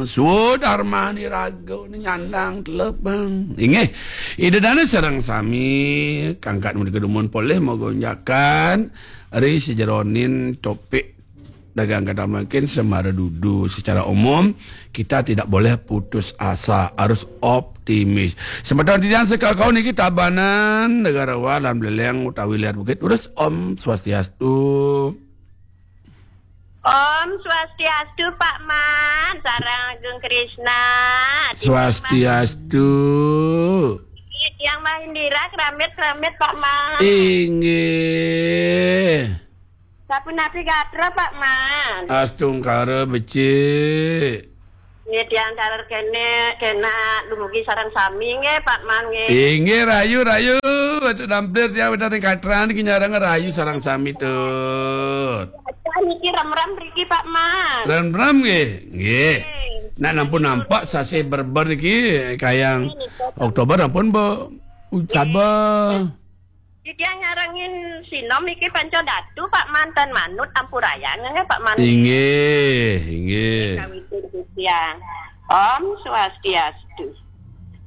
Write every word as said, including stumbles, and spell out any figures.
Swadarmani raga ni nyandang telepang. Inggih. Ida dana sareng sami kangkat mudi kedumun polih magonjakan ri sejeroning topik dagang kadang mungkin semara dudu. Secara umum, kita tidak boleh putus asa, harus optimis. Semeton titiang sekakau niki Tabanan, Negarawan, lan Beleleng utawi Liar Bukit. Terus Om Swastiastu. Om Swastiastu, Pak Man, sareng Agung Krisna. Swastiastu. Tiang Mah Indira, kramit-kramit, Pak Man. Inggih. Sapunapi gatra, Pak Man? Astungkara becik. Nggih, tiang taler kene, kena dumugi sareng sami nggih, Pak Man nggih. Inggih, rayu, rayu. Atu dampir tiang wénten ing katran iki nyareng rayu sareng sami, Tut. Acan niki remrem mriki, Pak Man. Remrem nggih. Nggih. Nggih. Nak nampun nampak sasih berber niki kayang Nggih, nika. Oktober ampun, Bu. Ucaba. Nggih. Titiang nyarengin sinom iki Panca Datu, Pak Man, ten manut ampurayang nggih, Pak Man. Inggih, inggih. Kawitin titiang. Om Swastiastu.